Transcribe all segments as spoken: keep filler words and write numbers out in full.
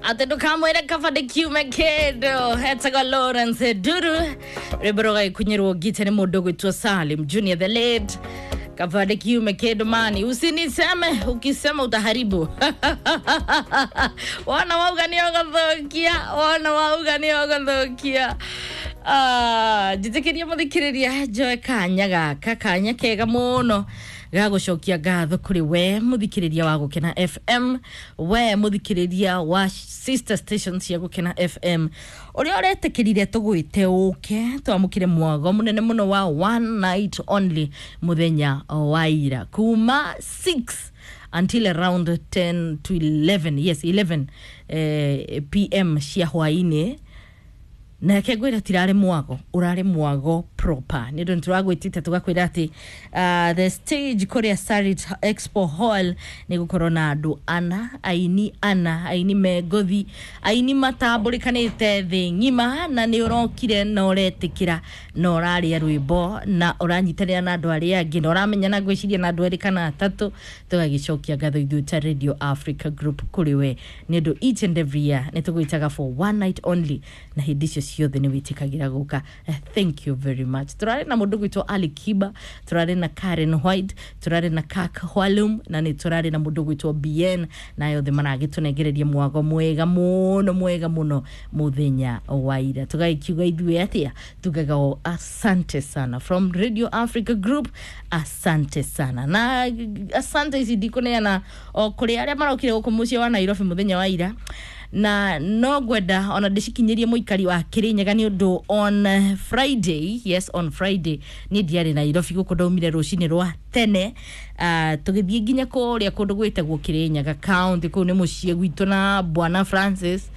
Atä ndå kamwä re kaba ndä kiume kä ndå hetagwo Lawrence Nduru rwä mbo rå gagä rwo ngite nä må ndå gwä two Salim Junior the late. Kaba ndä kiume kä ndå mani, usiniseme, ukisema utaharibu. Wona wauga nä ågåthå kia, wona wauga nä ågåthå kia. Njä tä kä ria må thikä rä ria njoe kanya gaka, kanya kega må ga gũcokia ngatho kũrĩ we mũthikĩrĩria wa Gũkena F M, we mũthikĩrĩria wa sister station cia Gũkena F M, ũrĩa ũretĩkĩrire tũgwĩte ũke twamũkĩre mwago mũnene mũno wa one night only mũthenya wa ira kuma six until around ten to eleven, yes, eleven eh, p m cia hwainĩ. Nake ngwĩra tirarĩ mwago ũrarĩ mwago proper nĩ ũndũ nĩtũragwĩtĩte tũgakwĩra atĩ uh, the stage kũrĩa Sarit Expo Hall nĩ gũkorwo na andũ ana, aini ana, aini me ngothi, aini matambũrĩkanĩte thĩ ng'ima, na nĩ ũrokire na ũretĩkĩra na ũrarĩa rwĩmbo na ũranyitanĩra na andũ arĩa angĩ na ũramenya na ngwĩciria na andũ erĩ kana atatũ. Tũgagĩcokia ngatho ithuĩ ta Radio Africa Group kũrĩ we nĩ ũndũ each and every year nĩ tũgwĩtaga for one night only na hĩndĩ icio ciothe nĩ wĩtĩkagĩra gũka. Eh, thank you very much. Tũrarĩ na mũndũ gwĩtwo Ali Kiba, tũrarĩ na Karen White, tũrarĩ na Kak Hwalum, na nĩ tũrarĩ na mũndũ gwĩtwo B N, na yothe maragĩtũnengereria mwago mwega mũno, mwega mũno mũthenya wa ira. Tũgagĩkiuga ithuĩ atĩa? Tugaga o asante sana from Radio Africa Group, asante sana. Na asante ici ndikũneana o kũrĩ arĩa marokire gũkũ mũciĩ wa Nairobi mũthenya wa ira, na no ngwenda ona ndĩcikinyĩrie mũikari wa Kĩrĩnyaga nĩ ũndũ on Friday, yes, on Friday niĩ ndiarĩ Nairobi gũkũ, ndaumire rũcinĩ rwa tene, uh, tũgĩthiĩ nginya kũrĩa kũndũ gwĩtagwo Kĩrĩnyaga County. Kũu nĩ mũciĩ gwitũ na bwana Francis.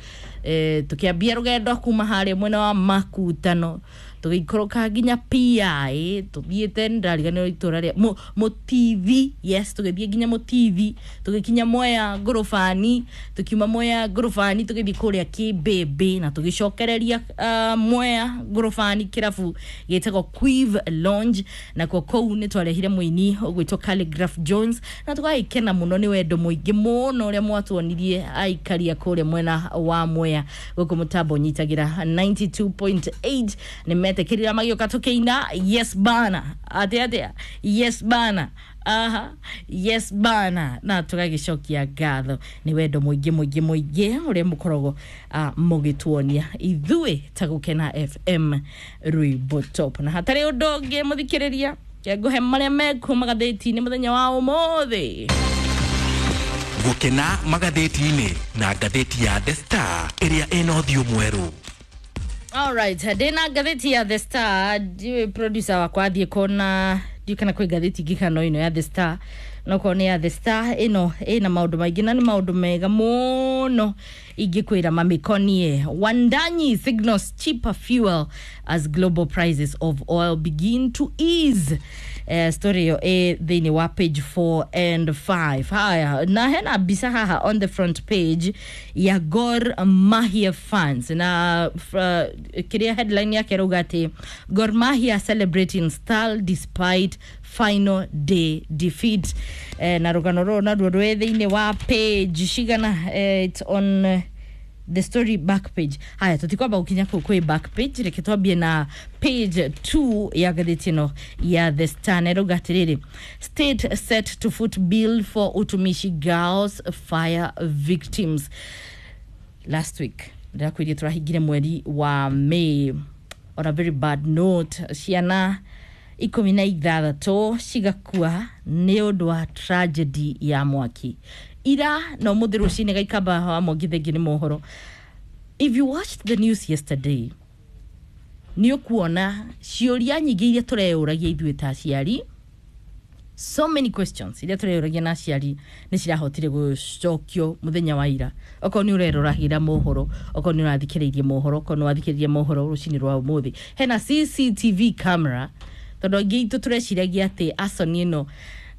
eh, tukiambia rũgendo kuma harĩa mwena wa Makutano, tũgĩikũrũka nginya P I, tũthiĩte ndariganĩrwo itũra rĩa Mu- Mũtithi, yes, tũgĩthiĩ nginya Mũtithi, tũgĩkinya Mwea Ngũrũbani, tũkiuma Mwea Ngũrũbani tũgĩthiĩ kũrĩa Kĩmbĩmbĩ na tũgĩcokereria uh, Mwea Ngũrũbani kĩrabu gĩtagwo Quive Lounge, nakuo kũu nĩ twarehire mũini ũgwĩtwo Calligraph Jones na tũgagĩkena mũno nĩ wendo mũingĩ mũno ũrĩa mwatuonirie aikaria kũrĩa mwena wa Mwea. Gũkũ mũtambo nyitagĩra ninety-two point eight nĩ metĩkĩrire magĩũka tũkĩina "Yes Bana", atĩ atĩa, "Yes Bana", aha, "Yes Bana", na tũgagĩcokia ngatho nĩ wendo mũingĩ mũingĩ mũingĩ ũrĩa mũkoragwo uh, mũgĩtuonia ithuĩ ta Gũkena F M rwĩmbo top. Na hatarĩ ũndũ ũngĩ, mũthikĩrĩria, ngũhe marĩa mekuo magathĩti-inĩ mũthenya wa ũmũthĩ. Gũkena magathĩti-inĩ na ngathĩti ya The Star ĩrĩa ĩna ũthiũ mwerũ. Alright, ndĩna ngathĩti ya The Star. Ndiũĩ producer wakwa athiĩ kona, ndiũĩ kana kwĩ ngathĩti ingĩ kana ĩno ya The Star. Nokorwo nĩ ya The Star ĩno ĩna maũndũ maingĩ na nĩ maũndũ mega mũno ingĩkwĩra mamĩkonie. Wandanyi signals cheaper fuel as global prices of oil begin to ease. Eh, story ĩyo ĩ thĩinĩ wa page four and five. Haya, na hena mbica haha on the front page ya Gor Mahia fans na uh, kĩrĩa headline yake ĩrauga atĩ "Gor Mahia celebrating style despite final day defeat". Eh, na rũgano rũrũ naruo rwĩ thĩinĩ wa page cigana? eh, it's on uh, the story back page. Haya, tutikwamba gukinya kuu kwi back page, reke twambie na page two ya ngathĩti ĩno ya The Star, na ĩrauga atĩrĩrĩ, "State set to foot bill for Utumishi Girls fire victims". Last week ndĩrakwĩrie tũrahingire mweri wa May on a very bad note, ciana ikũmi na ithathatũ cigakua nĩ ũndũ wa tragedy ya mwaki ira na ũmũthĩ rũcinĩ. Gaikamba wa Mwangi, thengi nĩ mohoro. If you watched the news yesterday, nĩ ũkuona ciũria nyingĩ iria tũreyũragia ithuĩ ta aciari. So many questions iria tũreyũragia na aciari nĩ cirahotire gũcokio mũthenya wa ira. Okorwo nĩ ũreroragĩra mohoro, okorwo nĩ ũrathikĩrĩirie mohoro, okorwo nĩ wathikĩrĩria mohoro rũcinĩ rwa ũmũthĩ, hena C C T V camera, tondũ aingĩ itũ tũreciragia atĩ arson ĩno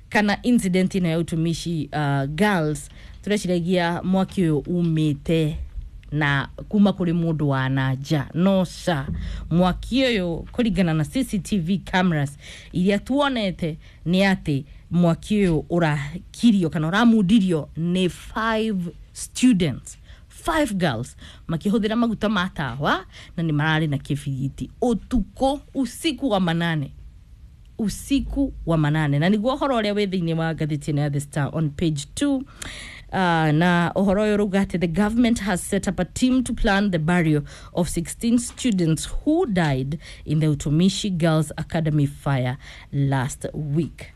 kana incident ĩno ya Utumishi uh, Girls, tũreciragia mwaki ũyũ umĩte na kuma kũrĩ mũndũ wa nanja. No ca, mwaki ũyũ kũringana na C C T V cameras iria tuonete nĩ atĩ mwaki ũyũ ũrakirio kana ũramundirio nĩ five students. Five girls makĩhũthĩra maguta ma tawa na nĩ mararĩ na kĩbiriti ũtukũ, usiku wa manane, usiku wa manane. Na niguo ũhoro ũrĩa wĩ thĩinĩ wa ngathĩti ĩno ya The Star on page two. Uh, na ũhoro ũyũ ũrauga atĩ the government has set up a team to plan the burial of sixteen students who died in the Utumishi Girls Academy fire last week.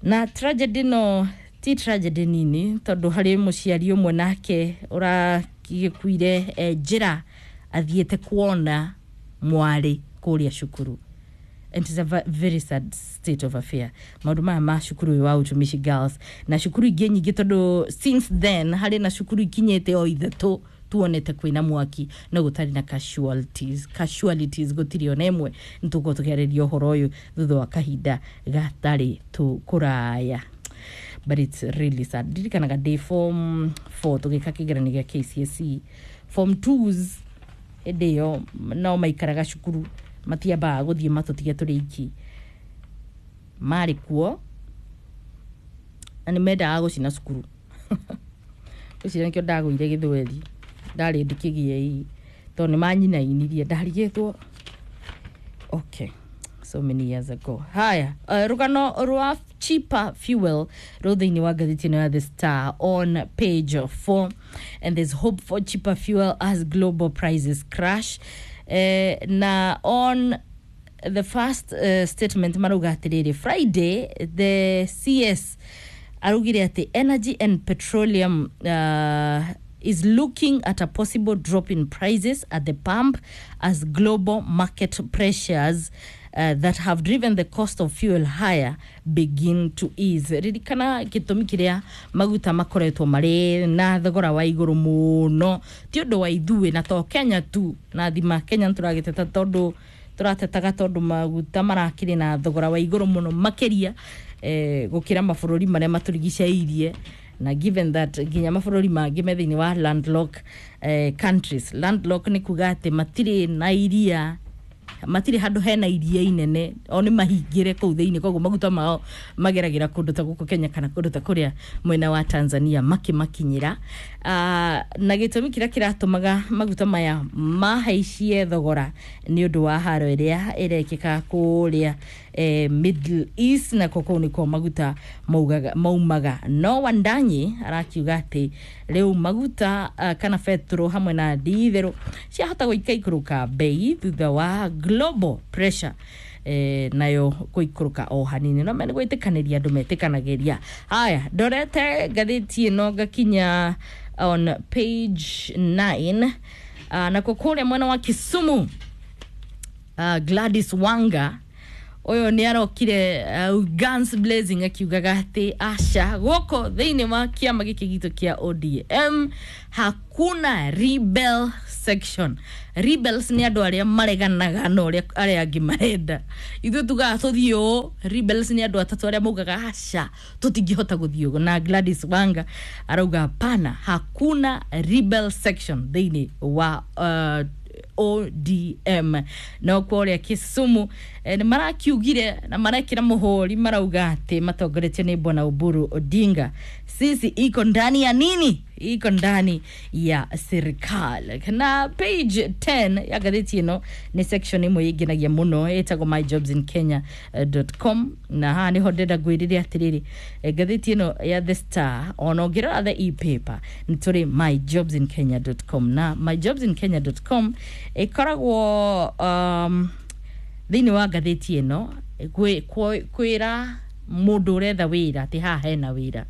Na tragedy no ti tragedy nini, tondũ harĩ mũciari ũmwe nake ũragĩkuire eh, njĩra athiĩte kuona mwarĩ kũrĩa cukuru. And it's a very sad state of affair, maũndũ maya ma cukuru ũyũ wa Utumishi Girls na cukuru ingĩ nyingĩ, tondũ since then harĩ na cukuru ikinyĩte o ithatũ tuonete kwĩna mwaki no gũtarĩ na casualties casualties gũtirĩ ona ĩmwe. Nĩtũgũkorwo tũkĩarĩria ũhoro ũyũ thutha wa kahinda gatarĩ tũ kũraya, but it's really sad. Ndirikanaga ndĩ form four tũgĩka kĩgeranio gĩa K C S E, form twos hĩndĩ ĩyo no maikaraga cukuru, matiambaga gũthiĩ matũtige tũrĩ iki, marĩ kuo na nĩ mendaga gũcina cukuru. Ũcio nĩkĩo ndagũire gĩthweri, ndarĩ ndikĩgĩei tondũ nĩ manyinainirie, ndarigĩtwo. Okay, so many years ago. Haya, uh, rũgano rwa cheaper fuel rũ thĩinĩ wa ngathĩti ĩno ya The Star on page four, and there's hope for cheaper fuel as global prices crash. eh, na on the first uh, statement marauga atĩrĩrĩ, Friday the C S araugire atĩ Energy and Petroleum uh, is looking at a possible drop in prices at the pump as global market pressures uh, that have driven the cost of fuel higher begin to ease. Ririkana gĩtũmi kĩrĩa maguta makoretwo marĩ na thogora wa igũrũ mũno ti ũndũ wa ithuĩ na to Kenya tu, na thima Kenya nĩtũragĩteta tondũ tũratetaga tondũ maguta marakĩrĩ na thogora wa igũrũ mũno makĩria eh, gũkĩra mabũrũri marĩa matũrigicĩirie. Na given that nginya mabũrũri mangĩ me thĩinĩ wa landlock eh, countries, landlock nĩ kuga atĩ matirĩ na iria, matirĩ handũ hena iria inene, o nĩ mahingĩre kũu thĩinĩ, koguo maguta mao mageragĩra kũndũ ta gũkũ Kenya kana kũndũ ta kũrĩa mwena wa Tanzania makĩmakinyĩra. uh, na gĩtũmi kĩrĩa kĩratũmaga maguta maya mahaicie thogora nĩ ũndũ wa haro ĩrĩa ĩrekĩka kũrĩa eh, Middle East, na kũu nĩkuo maguta maugaga, maumaga. No Wandanyi arakiuga atĩ rĩu maguta uh, kana betũrũ hamwe na nditherũ ciahota gũikaikũrũka bei thutha wa global pressure eh, nayo gũikũrũka o hanini, no mene gwĩtĩkanĩria andũ metĩkanagĩria. Haya, ndorete ngathĩti ĩno ngakinya on page nine. uh, nakuo kũrĩa mwena wa Kisumu, uh, Gladys Wanga ũyũ nĩ arokire uh, guns blazing akiugaga atĩ aca, gũkũ thĩinĩ wa kĩama gĩkĩ gitũ kĩa O D M hakuna rebel section. Rebels nĩ andũ arĩa mareganaga na ũrĩa arĩa angĩ marenda. Ithuĩ tugaga tũthiĩ ũũ, rebels nĩ andũ atatũ arĩa maugaga aca, tũtingĩhota gũthiĩ ũguo. Na Gladys Wanga arauga hapana, hakuna rebel section thĩinĩ wa uh, O D M. No kũrĩa Kisumu eh, nĩ marakiugire na marekĩra mũhũri, marauga atĩ matongoretio nĩ Bwana Oburu Odinga, sisi iko ndani ya nini, iko ndani ya serikali. Na page ten ya ngathĩti ĩno nĩ section ĩmwe ĩngenagia mũno ĩtagwo my jobs in kenya dot com, na haha nĩho ndĩrenda ngwĩrĩre atĩrĩrĩ, eh, ngathĩti ĩno ya The Star, ona ũngĩrora the e-paper, nĩ tũrĩ my jobs in kenya dot com, na my jobs in kenya dot com ĩkoragwo um, thĩinĩ wa ngathĩti ĩno kwĩ- kwĩ- kwĩra mũndũ ũretha wĩra atĩ haha hena wĩra,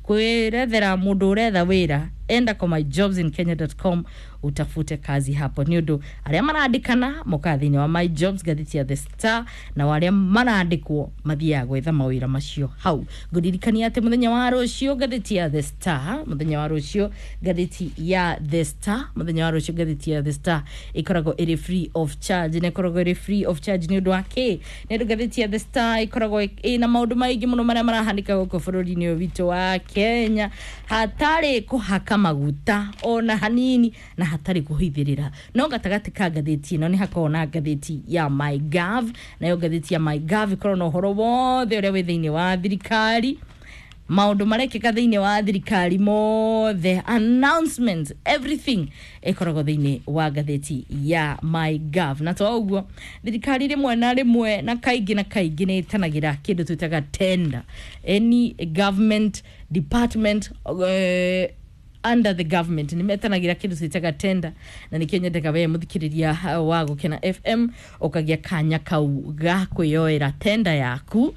kwĩrethera mũndũ ũretha wĩra, enda kwa my jobs in kenya dot com utafute kazi hapo, nĩ ũndũ arĩa marandĩkana mokaga thĩinĩ wa My Jobs, ngathĩti ya The Star, na arĩa marandĩkwo mathiaga gwetha mawĩra macio hau. Ngũririkania atĩ mũthenya wa rũciũ ngathĩti ya The Star, mũthenya wa rũciũ ngathĩti ya The Star, mũthenya wa rũciũ ngathĩti ya The Star ĩkoragwo ĩrĩ free of charge. Na ĩkoragwo ĩrĩ free of charge nĩ ũndũ wa kĩ? Nĩ ũndũ ngathĩti ya The Star ĩkoragwo ĩna maũndũ maingĩ mũno marĩa marahanĩka gũkũ bũrũri-inĩ ũyũ witũ wa Kenya, hatarĩ kũhaka maguta ona hanini na hatarĩ kũhithĩrĩra. No gatagatĩ ka ngathĩti ĩno nĩ hakoragwo na ngathĩti ya MyGov, nayo ngathĩti ya MyGov ĩkoragwo na ũhoro wothe ũrĩa wĩ thĩinĩ wa thirikari. Maundu marekeka thiini wa thirikari mothe, announcements, everything ikoragwo thiini wa ngathĩti ya MyGov. Na to ũguo, thirikari rĩmwe na rĩmwe na kaingĩ na kaingĩ nĩ ĩtanagĩra kĩndũ twĩtaga tender. Any government department uh, under the government nä metanagä ra kä ndå twĩtaga tender, na nä kä nyendaga we mũthikĩrĩria wa Gũkena F M ũkagĩa kanya kau ga kwĩyoera tender yaku.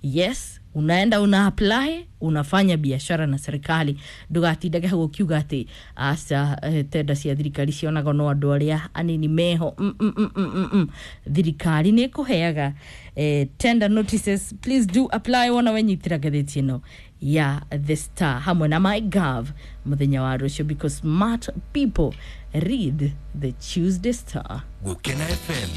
Yes, unaenda una apply, unafanya biashara na serikali. Ndugatindage hau ũkiuga atĩ aca, eh, tenda cia thirikari cionagwo no andũ arĩa anini meho. mm, mm, mm, mm, mm, mm. Thirikari nĩ ĩkũheaga eh, tender notices. Please do apply. Wona wenyitĩra ngathĩti ĩno ya The Star hamwe na MyGov mũthenya wa rũciũ, because smart people read the Tuesday Star. Gũkena F M.